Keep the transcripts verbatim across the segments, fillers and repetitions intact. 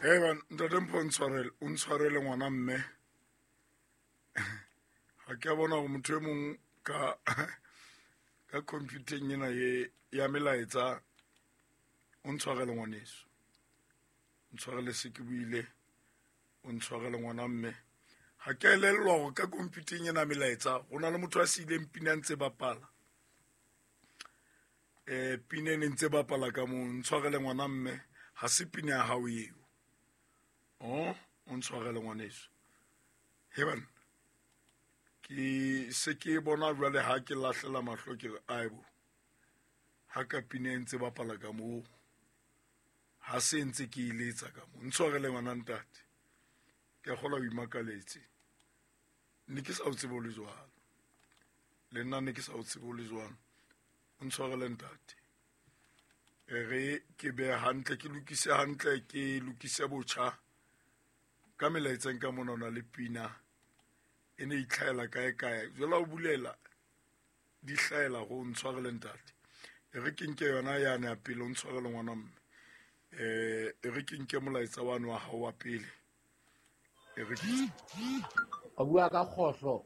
Hey, ntate Mpho ntshwarele, o ntshwarele ngwana mme. Ha ke a bona hore motho e mong ka ka computer-eng ena ye ya melaetsa o ntshwarele ngwaneso. Ntshwarele se ke buile, o ntshwarele ngwana mme. Ha ke elellwa hore ka computer-eng ena melaetsa ho na le motho a siileng pina ntse bapala. Eh pina e ntse bapala ka moo, ntshwarele ngwana mme, ha se pina ya hao eo. Oh, o ntshwarele ngwaneso. Heban ke se ke bona jwale ha ke lahlela mahlo ke re aibo. Ha ka pina e ntse bapala ka moo, ha se ntse ke iletsa ka moo. Ntshwarele ngwana ntate. Ke a kgolwa o imakaletse. Ne ke sa o tsebe o le jwalo. Le nna ne ke sa o tsebe o le jwalo. O ntshwarele ntate. E re ke be hantle, ke lokise hantle, ke lokise botjha. Ka melaetseng ka mona o na le pina e ne itlhaela kae kae. Jwale o bulela di hlaela go ntshwarele ntate. E re ke nke yona yane ya pele, o ntshwarele ngwana mme. Eh e re ke nke molaetsa wa wa hao wa pele. E re ke o bua ka kgohlo.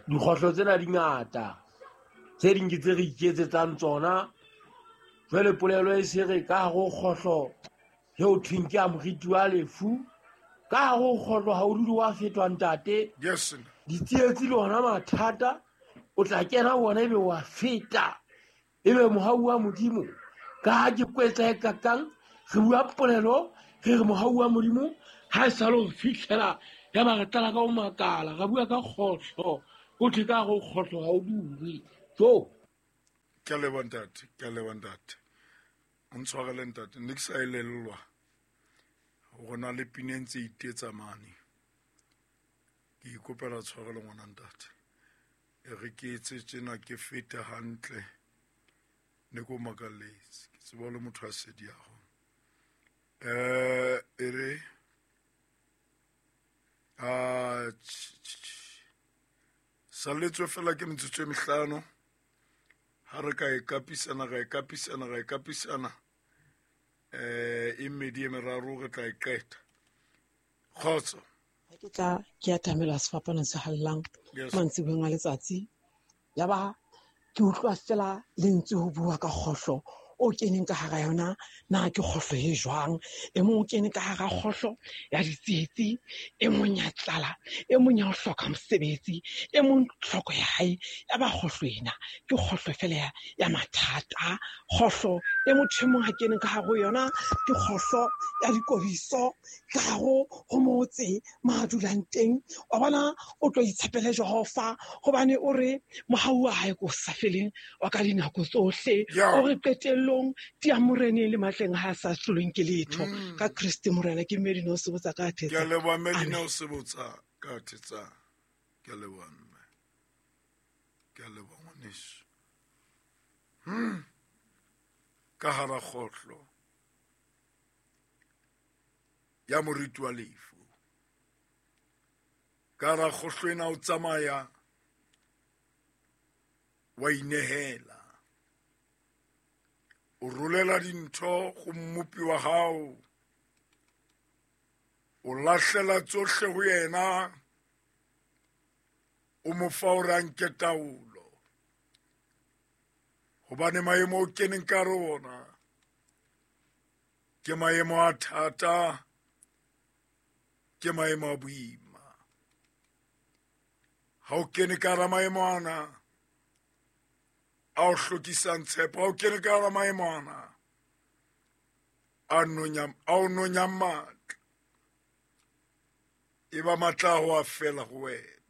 Dikgohlo tsena di ngata. Tse ding ke tse re iketsetsang tsona. Jwale polelo e se re ka hare ho kgohlo eo thweng ke a moriti wa lefu. Ka hare ho kgohlo ha o dule wa fetwa ntate. Yes. Ditsietsi le hona mathata o tla kena wona ebe wa feta. Ebe mohau wa Modimo ka ha ke kwetsa e kakang re bua polelo re re mohau wa Modimo ha e sa le ho fihlela ya ba re tlala ka ho makala ra bua ka kgohlo o thwe ka hare ho kgohlo ha o dule. Jo. Ke a leboha ntate, ke a leboha ntate. O ntshwarele ntate, ne ke sa elellwa hore na le pina e ntse itetsa mane. Ke ikopela tshwarelo ngwana ntate. E re ke etse tjena ke fete hantle. Ne ko makalletse. Ke tseba le motho a sedi ya hao. Eh e re a salletswe fela ke metsotso e mehlano. Ha re ka e kapisana, ra e kapisana, ra e kapisana. Eh e mmedi e meraro re tla e qeta. Kgotso. Ha ke tla ke atamela sefapano se hallang mantsiboeng a letsatsi. Ya ba ke utlwa fela lentswe ho bua ka kgohlo o keneng ka hara yona, na ke kgohlo e jwang? E mong o kene ka hara kgohlo ya ditsietsi, e mong ya tlala, e mong ya ho hloka mosebetsi, e mong tlhoko ya hae ya ba kgohlo ena ke kgohlo fela ya, ya mathata. Kgohlo e motho e mong ha keneng ka hare ho yona ke kgohlo ya dikobiso ka hare ho motse ma dulang teng. Wa bona o tlo itshepele Jehova hobane o re mohau wa hae ko sa feleng wa ka dinako tsohle. O re qetellong tia moreneng le matleng ha sa hlolweng ke letho. Ka Kriste Morena ke Medina o sebotsa ka thetsa. Ke a leboha Medina o sebotsa ka thetsa. Ke a leboha mme. Ke a leboha ngwaneso. Hmm. Ka hara kgohlo ya moriti wa lefu. Ka hara kgohlo ena o tsamaya wa inehela. O rolela dintho go mmopi wa hao. O lahlela tsohle ho yena. O mo fa hore a nke taolo. Hobane maemo o keneng ka hare ho ona ke maemo a thata, ke maemo a boima. Ha o kene ka hara maemo ana a o hlokisang tshepo, ha o kene ka hara maemo ana a nonyang, a o nonyang matla, e ba matla a ho a fela ho wena.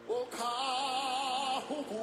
Okahubu.